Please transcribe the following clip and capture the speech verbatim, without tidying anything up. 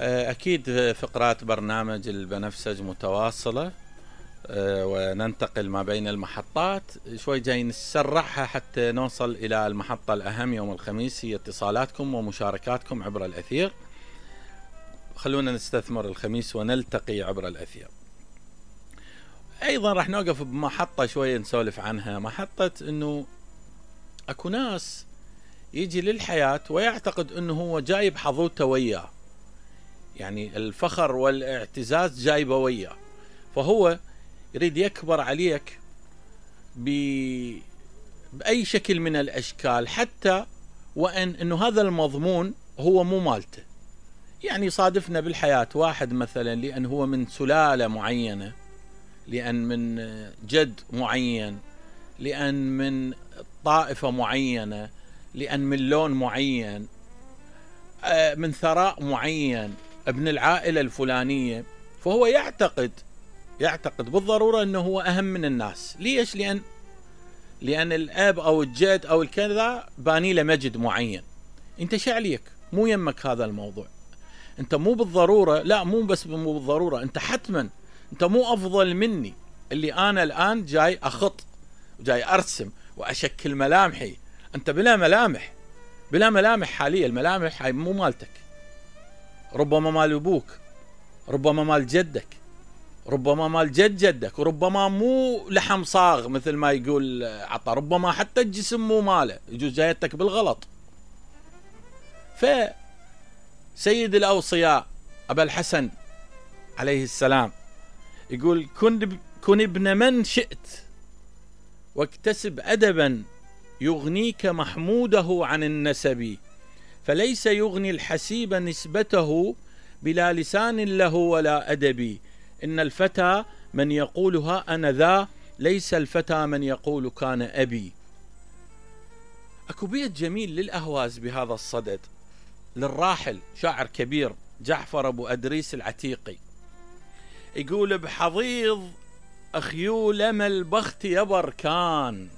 أكيد فقرات برنامج البنفسج متواصلة وننتقل ما بين المحطات، شوي جاي نسرعها حتى نوصل إلى المحطة الأهم يوم الخميس، هي اتصالاتكم ومشاركاتكم عبر الأثير. خلونا نستثمر الخميس ونلتقي عبر الأثير. أيضا راح نوقف بمحطة شوية نسولف عنها، محطة أنه أكو ناس يجي للحياة ويعتقد أنه هو جايب حظوته وياه، يعني الفخر والاعتزاز جايبه وياه، فهو يريد يكبر عليك بأي شكل من الأشكال، حتى وأن أنه هذا المضمون هو مو مالته. يعني صادفنا بالحياة واحد مثلا لأن هو من سلالة معينة، لأن من جد معين، لأن من طائفة معينة، لأن من لون معين، من ثراء معين، ابن العائلة الفلانية، فهو يعتقد يعتقد بالضرورة أنه هو أهم من الناس. ليش؟ لأن لأن الأب أو الجد أو الكذا باني له مجد معين. أنت شعليك مو يمك هذا الموضوع، أنت مو بالضرورة، لا مو بس مو بالضرورة، أنت حتما أنت مو أفضل مني، اللي أنا الآن جاي أخط وجاي أرسم وأشكل ملامحي، أنت بلا ملامح، بلا ملامح حاليا، الملامح هاي مو مالتك، ربما مال أبوك، ربما مال جدك، ربما مال جد جدك، وربما مو لحم صاغ مثل ما يقول عطا، ربما حتى الجسم مو ماله، يجوز جايتك بالغلط. فسيد الأوصياء أبا الحسن عليه السلام يقول: كن كن ابن من شئت واكتسب أدبا يغنيك محموده عن النسب، فليس يغني الحسيب نسبته بلا لسان له ولا أدب، إن الفتى من يقولها أنا ذا، ليس الفتى من يقول كان أبي. أكو بيت جميل للأهواز بهذا الصدد للراحل شاعر كبير جعفر أبو أدريس العتيقي، يقول: بحضيض أخيول ما البخت يبر كان،